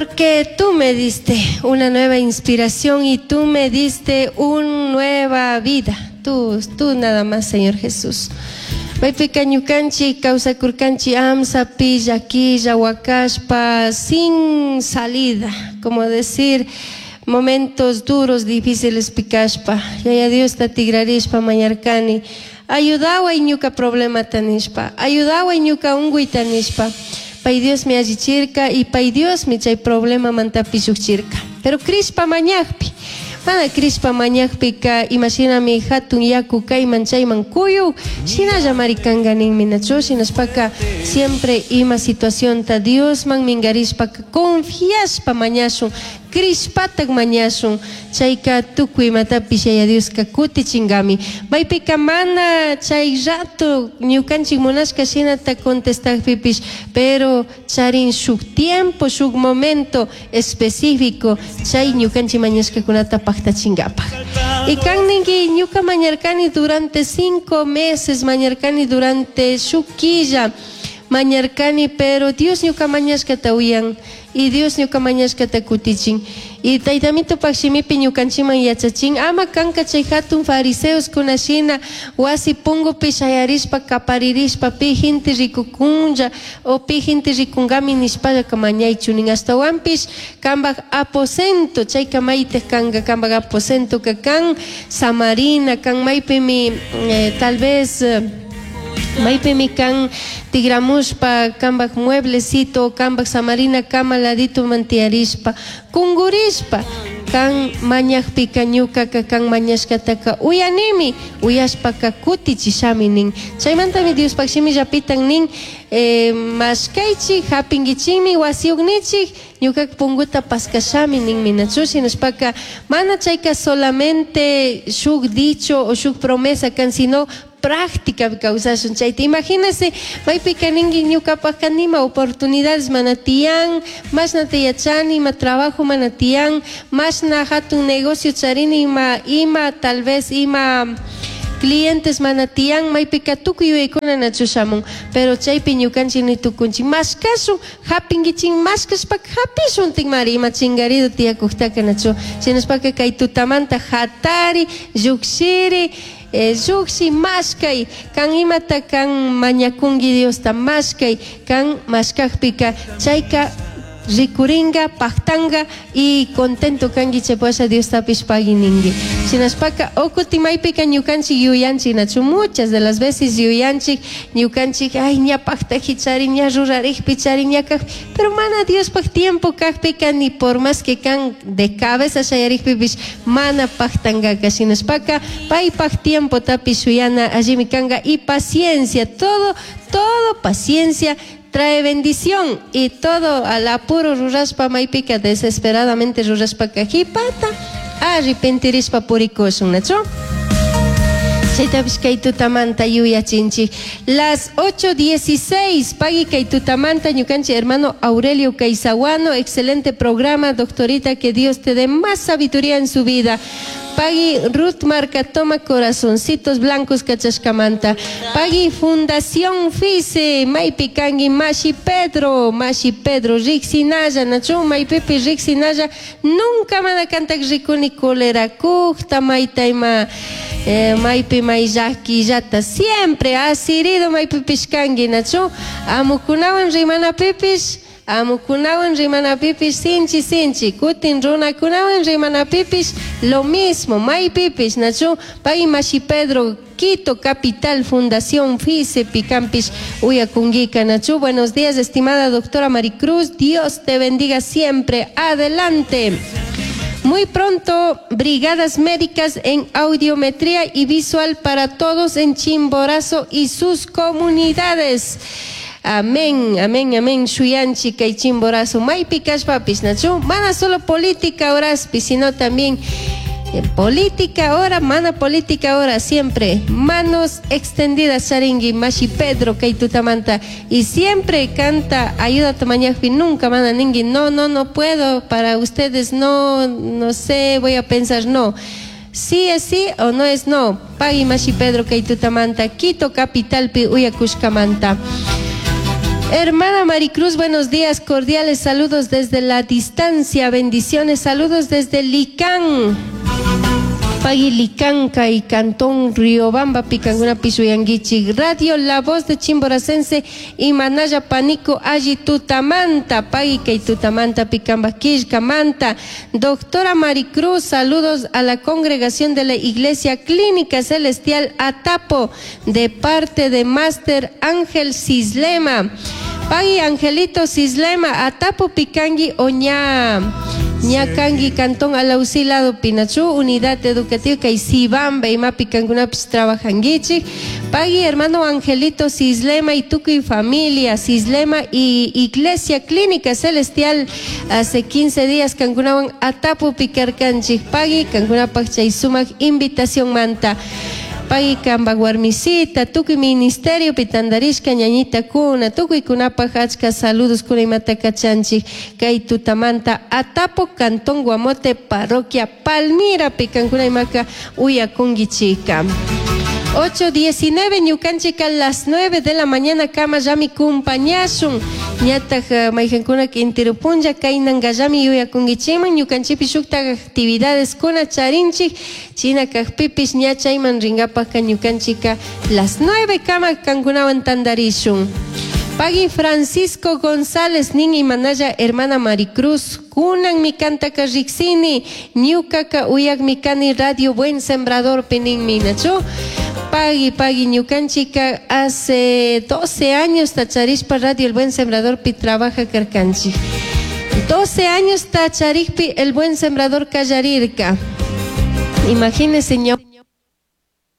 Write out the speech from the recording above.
Porque tú me diste una nueva inspiración y tú me diste una nueva vida. Tú, tú nada más, Señor Jesús. Maypica ñukanchik kawsakurkanchik amsapi, llaquilla, huacashpa, sin salida, como decir, momentos duros, difíciles pikashpa. Yaya Diosta tigrarishpa mañarkani. Ayudaway ñuka problemata nishpa, ayudaway ñuka unguyta nishpa. Pay Diosmi allichirka y pay Diosmi chay problemamantapish llukchirka. Pero crishpa mañakpi, mana crishpa mañakpika imashinami hatun yaku kayman chayman kuyuk, shinallamari kanka ninmi nachu, shinashpaka siempre ima situacionta Diosman mingarishpaka confiashpa mañashun, crishpatak mañashun, chayka tukuy imatapish Yaya Dioska kutichinkami. Maypika mana chay rato ñukanchik munashka shinata contestakpipish, pero charin shuk tiempo, shuk momento específico chay ñukanchik mañashkakunata paktachinkapak. Y kan ninki ñuka mañarkani durante 5 meses, mañarkani durante shuk killa, mañarkani, pero Dios ñuka mañashkata uyan y Dios ñuka mañashkata kutichin. Y taytamitupak shimipi ñukanchikman yachachin, ama kanka chay hatun fariseos kunashina wasi pungupi shayarishpa kaparirishpa pi gente rikukunlla o pi gente rikunkami nishpallaka mañaychu nin. Ashtawanpish kambak aposento, chayka maytik kanka, kambak aposentoka kan samarina, kan maypimi, tal vez, maypimi kan tigramushpa kambak mueblecito, kambak samarina kama ladito mantiyarishpa, kungurishpa, kan mañakpika ñukaka kan mañashkataka uyanimi, uyashpaka kutichishami nin. Chaymantami Diospaj shimillapitan nin, mashkaychik, hapinkichikmi, wasiyuknichik, ñukaka punguta paskashami ninmi nachu. Shinashpaka mana chayka solamente shuk dicho o shuk promesa kan, sino práctica kawsashun chayta. Imagínese, maypika ninki ñukapajka nima oportunidades mana tiyan, mashnata yachani, ima trabajo mana tiyan, mashna hatun negocio charini, ima, ima tal vez ima clientes mana tiyan, maypika tukuy yuyaykuna nachu shamun, pero chaypi ñukanchik ni tukunchik mashkashun, hapinkichik, mashkashpaka hapishun tikmari ima chingarido tiyakuktaka nachu. Shinashpaka kay tutamanta hatari, llukshiri, llukshi mashkay, kan imata kan mañakunki Diosta mashkay, kan mashkakpika chayka rikuringa, paktanga y contento kanki chaypasha Diostapish pagui ninki. Shinashpaka ukuti maypika ñukanchik yuyanchik nachu, muchas de las veces yuyanchik ñukanchik, ay, ña paktaji chari, ña rurarikpi chari, ña kajpi, pero mana Diospaj tiempo kajpika ni por más que kan de cabeza shayarikpipish mana paktangaka. Shinashpaka paypaj tiempo tapish shuyana allimi kanga y paciencia, todo, todo paciencia trae bendición y todo al apuro rurashpa maypika desesperadamente rurashpa kajipata arrepentirishpa purikushun, nachu? Chaytapish kay tutamanta yuyachinchik. Las 8:16, pagui kay tutamanta ñukanchik hermano Aurelio Caizaguano, excelente programa, doctorita, que Dios te dé más sabiduría en su vida. Pagui Ruth Marca, toma corazoncitos blancos kachashkamanta. Pagui Fundación FICE, maypi kangi Mashi Pedro, Mashi Pedro, Rixinaya, nachu, maypipi Rixinaya, nunca mana kantak rikuni kolera kukta, mayta ima, maypi mayllakillata, siempre asirido maypipish kangi, nachu, amukunawan rimanapipish, amukunawan rimanapipish sinchi sinchi, kutin runakunawan rimanapipish lo mismo, maypipish, nachu, pay Mashi Pedro, Quito Capital, Fundación FICE, Picampish, Uyakunguica, nachu. Buenos días, estimada doctora Maricruz, Dios te bendiga siempre, adelante. Muy pronto, brigadas médicas en audiometría y visual para todos en Chimborazo y sus comunidades. Amén, amén, amén. Shuyanchi kay Chimborazo, maypi kashpapis, nachu. Mana solo política horaspi, sino también política ahora, mana política ahora, siempre manos extendidas, charingui, Mashi Pedro, kay tutamanta. Y siempre canta, ayuda tamañajpi, nunca mana ningui, no, no, no puedo, para ustedes no, no sé, voy a pensar, no. Sí es sí o no es no. Pagui Mashi Pedro, kay tutamanta, Quito capital pi uyakushkamanta. Hermana Maricruz, buenos días, cordiales saludos desde la distancia, bendiciones, saludos desde Licán. Pagui Licanca y Cantón Riobamba Picanguna Pisuyanguichi Radio La Voz de Chimboracense y Manaya Panico Alli Tutamanta. Pagui Kay Tutamanta Picamba Quillcamanta. Doctora Maricruz, saludos a la congregación de la Iglesia Clínica Celestial Atapo de parte de Máster Ángel Cislema. Pagui Angelito Cislema Atapo Picangui Oña. Ñakangi Cantón Alausí lado Pinachu, Unidad Educativa kay Sibamba imapi kankunapish trabajanguichik. Pagui hermano Angelito Cislema y tukuy familia Cislema y Iglesia Clínica Celestial hace 15 días kankunawan Atapo pikarkanchik. Pagui kankunapaj chay sumak invitación manta. Pagui kamba warmisita, tukuy ministerio pitandarishka ñañita kuna, tukuy kunapaj achka saludos kuna imata kachanchik kay tutamanta Atapo Cantón Guamote Parroquia Palmira pikankuna imaka uyakungichika. 8:19 ñukanchika las 9 de la mañana kama llami kumpañashun ñataj mayjankuna intirupunlla kaynangallami yuyakunkichikman ñukanchikpi shuktak actividades kuna charinchik china kajpipis ña chayman rinkapajka ñukanchika las 9 kama kankunawan tandarishun. Pagui Francisco González nin imanalla hermana Maricruz kunan mi kantaka riksini ñukaka uyakmi kani Radio Buen Sembrador pinin nachu. Pagui, pagui, ñukanchika hace 12 años tacharishpa Radio El Buen Sembrador pi trabaja karkanchik. 12 años tacharikpi El Buen Sembrador kallarirka. Imagínense ña